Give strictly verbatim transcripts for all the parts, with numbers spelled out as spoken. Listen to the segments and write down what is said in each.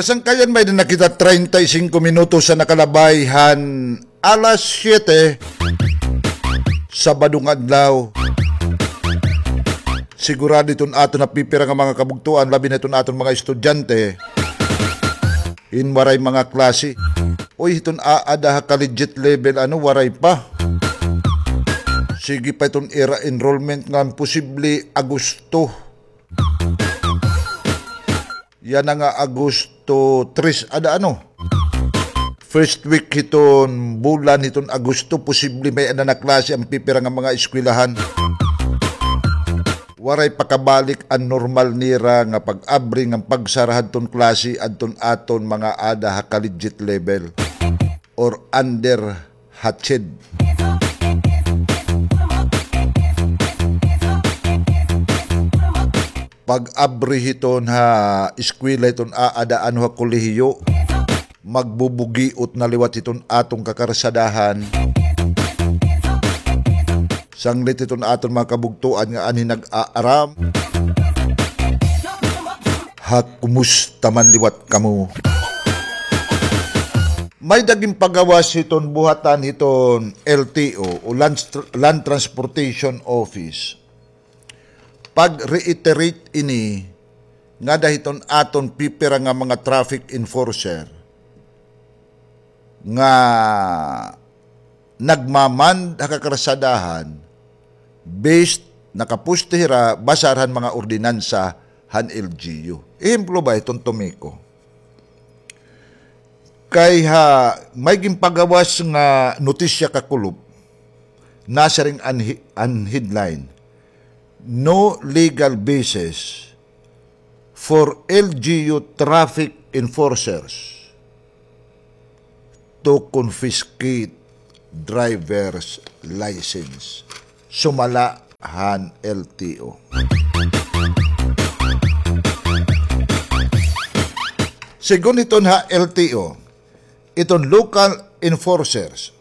Sangkayan, may-ada na kita treinta y cinco minutos an nakalabay han alas siyete, Sabado nga adlaw. Sigurado iton aton napipira nga mga kabugtoan, labi na iton aton mga estudyante, hin waray mga klase. Uy, hiton aada ha collegiate level, ano, waray pa. Sige pa iton ira enrollment ngan posible Agosto. Yana nga Agosto tres, ada ano? First week hiton bulan hiton Agosto, posible may-ada na klase an pipira nga mga eskwelahan. Waray pa kabalik an normal nira nga pag-abri ngan pagsara hadton klase adton aton mga ada ha collegiate level or under hatched. Pag-abri hiton ha eskwela hiton aada ano ha kolehiyo, magbubugiot na liwat hiton aton kakarsadahan. Sanglit hiton aton mga kabugtoan nga anhi nag-aaram. Ha, kumusta man liwat kamo? May-ada ginpagawas hiton buhatan hiton L T O o Land Tr-, Land Transportation Office. Pag-reiterate ini ngada hiton aton pipira nga mga traffic enforcer nga nagmamand ha kakarsadahan, based, nakaposte hira basar han mga ordinansa han L G U. Ehemplo ba iton, Tomiko? Kay ha, may ginpagawas nga notisya kakulop, nasiring an hi-, an headline, "No legal basis for L G U traffic enforcers to confiscate driver's license." Sumala han L T O. Segun hiton ha L T O, iton local enforcers,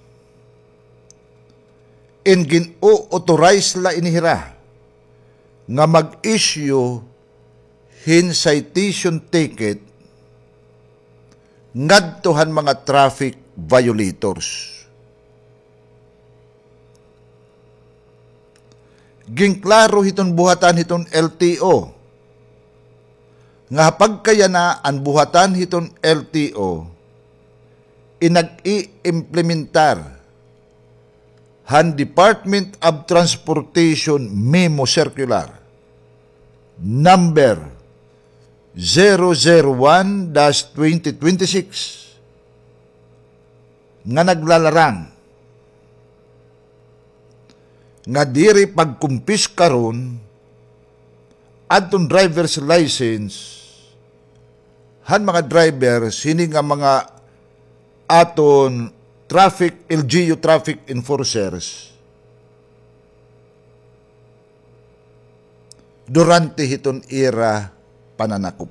in gin-o-authorize la ini hira nga mag-issue hin citation ticket ngadto han mga traffic violators. Ginklaro hiton buhatan hiton L T O nga ha pagkayana an buhatan hiton L T O in nag-iimplementar han Department of Transportation Memo Circular number zero zero one dash twenty twenty-six nga naglalarang nga diri pagkumpiskaron adton driver's license han mga drivers hini nga mga aton traffic, L G U traffic enforcers durante hiton ira pananakop.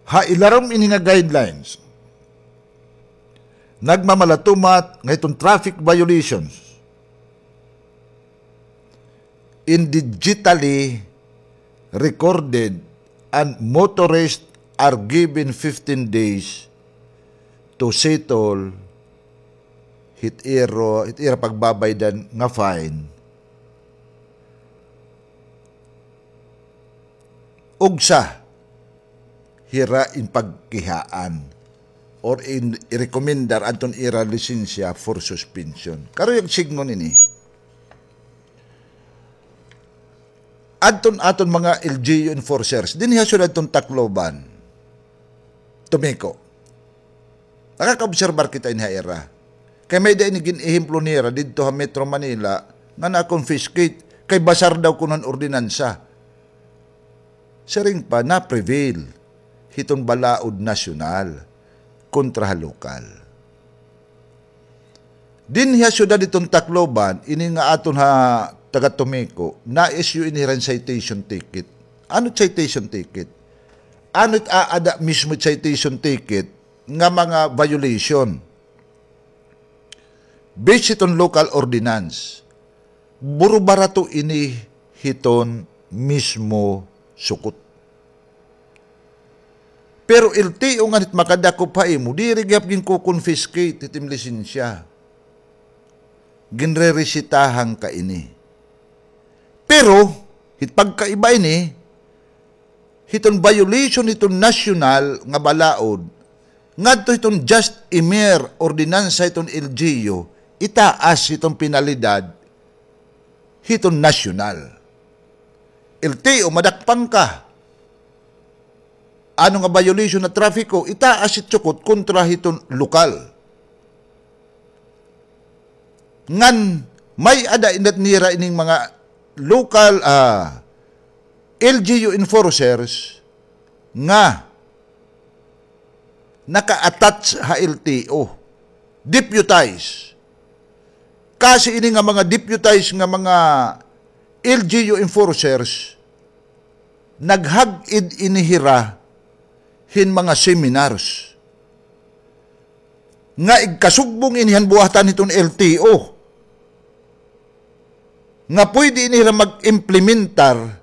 Ha ilarom ini nga guidelines, nagmamalatumat nga hiton traffic violations in digitally recorded, and motorists are given fifteen days to settle hit iro, hit ira pagbabaydan nga fine. Ugsa hira in pagkihaan or in irekomendar adton ira lisensya for suspension. Karuyag sidngon ini. Adton aton mga L G U enforcers dinhi ha syudad hiton Tacloban, Tomiko. Nakakaobserbar kita ini ha ira. Kay may-ada ini gin-ehemplo nira didto ha Metro Manila nga na-confiscate kay basar daw kuno han ordinansa. Siring pa, na-prevail hiton balaod nasyonal kontra ha lokal. Dinhi ha syudad hiton Tacloban, ini nga aton ha taga Tomiko, na-issue ini hira hin citation ticket. Ano citation ticket? Ano it aada mismo it citation ticket nga mga violation? Based hiton local ordinance, burubarato ini hiton mismo sukot. Pero L T O ngan hit makadakop ha imo, diri gihap ginko-confiscate hit im lisensya. Ginreresetahan ka ini. Pero, hit pagkaiba ini, hiton violation hiton nasyonal nga balaod, ngadto hiton just a mere ordinansa hiton L G U, itaas hiton penalidad hiton nasyonal. L T O, madakpan ka. Ano nga violation na trapiko, itaas it sukot kontra hiton lokal. Ngan may-ada inat nira ining mga local, ah, L G U enforcers nga naka-attach ha L T O. Deputize. Kasi ini nga mga deputize nga mga L G U enforcers, naghag-id ini hira hin mga seminars nga igkasugbong ini han buhatan hiton L T O, nga pwede ini hira mag-implementar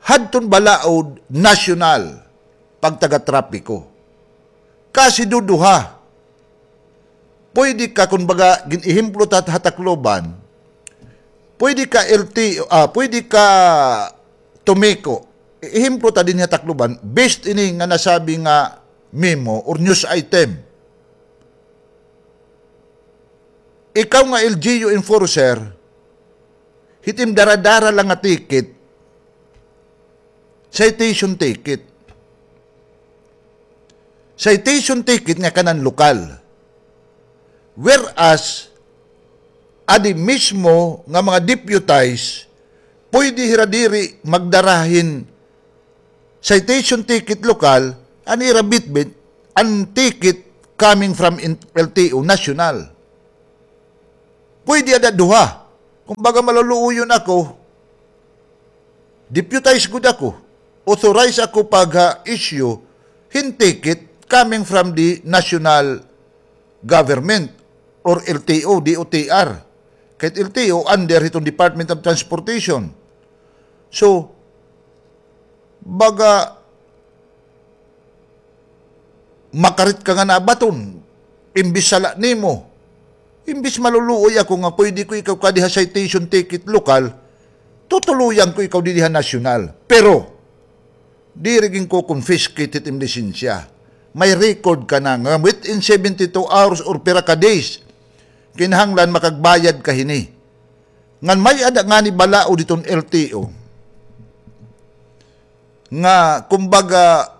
hadton balaod nasyonal pagtagatrapiko. Kasi duduha. Pwede ka, kumbaga, gin-ehemplo ta ha Tacloban, pwede ka L T O, ah, pwede ka Tomeco. Ehemplo ta dinhi ha Tacloban, based ini nga nasabi nga memo or news item. Ikaw nga L G U enforcer, hit im dara-dara la nga ticket, citation ticket. Citation ticket nga kanan lokal. Whereas, adi mismo nga mga deputize, pwede hira diri magdara hin citation ticket lokal, an ira bitbit, an ticket coming from in-, L T O national. Pwede ada duha. Kumbaga, maluluoyon ako, deputize gud ako, authorize ako pag, ah, issue hin ticket coming from the national government or L T O, D O T R. Kahit L T O, under hiton Department of Transportation. So, baga, makarit ka nga nabaton, imbis sala nimo, imbis maluluoy ako nga pwede ko ikaw kadi ha citation ticket lokal, tutuluyan ko ikaw didi ha nasyonal. Pero, diri ginko-confiscate hit im lisensya. May record ka na nga within seventy-two hours or pira ka days, kinahanglan makagbayad ka hini. Ngan may-ada ngani balaod hiton L T O nga, kumbaga,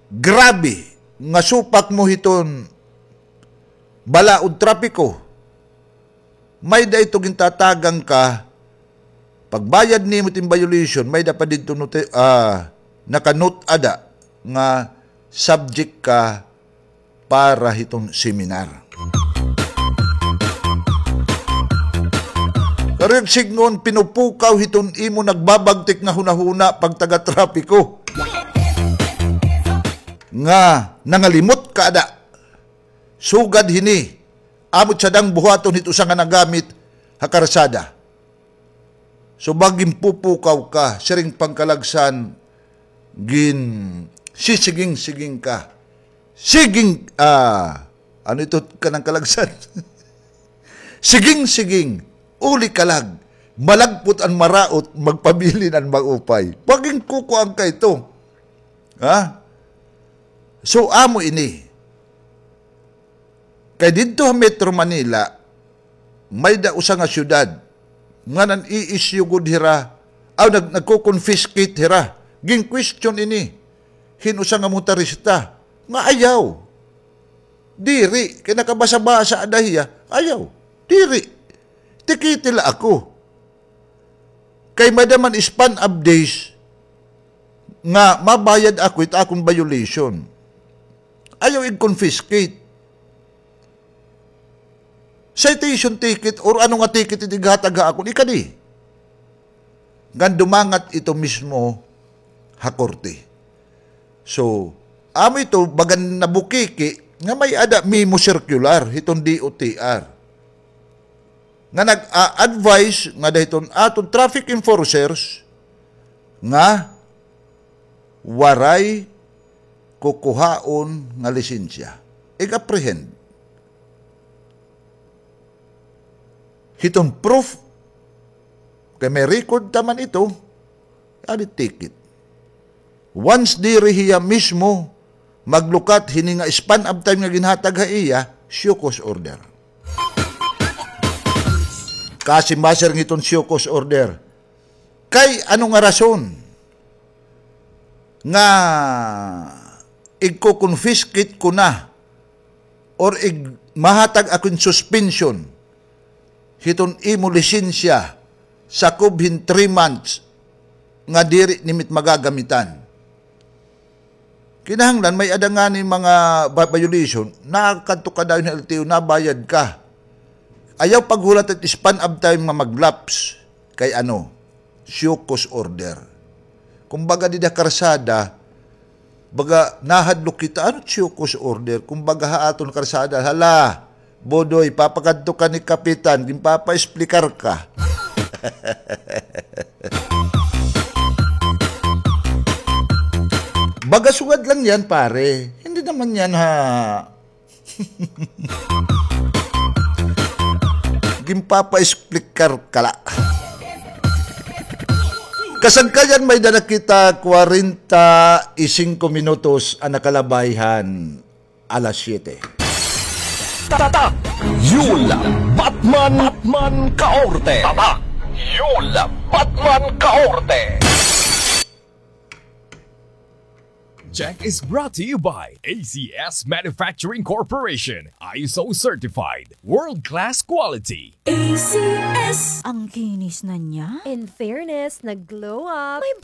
grabe nga supak mo hiton balaod trapiko. May-ada ito gintatagan ka, pagbayad nimo tin violation, may-ada pa didto noti-, ah, naka-note ada nga subject ka para hiton seminar. Karuyag sidngon, pinupukaw hiton imo nagbabagtik nga hunahuna pagtaga-trapiko. Nga nangalimot ka ada. Sugad hini, amo it sadang buhaton hit usa nga nagamit ha karsada. So, baga ginpupukaw ka, siring pangkalagsan, gin-, sisiging-siging ka. Siging, ah, ano ito kanang kalagsan? Siging-siging, uli ka lag, malagpot an maraot, magpabilin an maupay. Baga ginkukuan ka ito. Ha? So, amo ini. Kay didto ha Metro Manila, may-ada usa nga syudad nga nan-i-issue gud hira, aw, nag-, nagko-confiscate hira. Gin-question ini hin usa nga motorista nga ayaw. Diri, kay nakabasa-basa ada hiya. Ayaw. Diri. Tikiti la ako. Kay may-ada man span of days nga mabayad ako it akon violation. Ayaw ig-confiscate. Citation ticket or ano nga ticket it ighatag ha akon, ikadi. Ngan dumangat ito mismo ha korte. So, amo ito, bagan nabukiki nga may-ada memo circular hiton D O T R nga nag-a-advise ngada hiton aton traffic enforcers nga waray kukuhaon nga lisensya. Ig-apprehend. Hiton proof, kay may record ta man ito, adi ticket. Once diri hiya mismo maglukat hini nga span of time nga ginhatag ha iya, show cause order. Kasimba, sir, ngiton show cause order. Kay ano nga rason nga igko-confiscate ko na or ig-, mahatag ako hin suspension hiton imo lisensya sakob hin three months nga diri nimo it magagamitan? Kinahanglan may-ada ngani mga ba-, violation, nakadto ka dayon ha L T O, nabayad ka. Ayaw paghulat it span of time nga mag-lapse kay ano, show cause order. Kumbaga, dida karsada, baga, nahadlok kita, ano show cause order? Kumbaga, ha aton karsada, hala, Bodoy, papakadto ka ni Kapitan, ginpapa-explicar ka. Baga sugad lang yan, pare. Hindi naman yan, ha. Ginpapa-explicar ka la. Kasagkayan, may-ada na kita kwarenta y singko minutos an nakalabay han alas siyete. Tatak Yul Batman, Batman Kaorte. Tatak Yul Batman Kaorte. Check is brought to you by A C S Manufacturing Corporation, I S O certified, world-class quality. A C S. Ang kinis na niya. In fairness, nag-glow up. May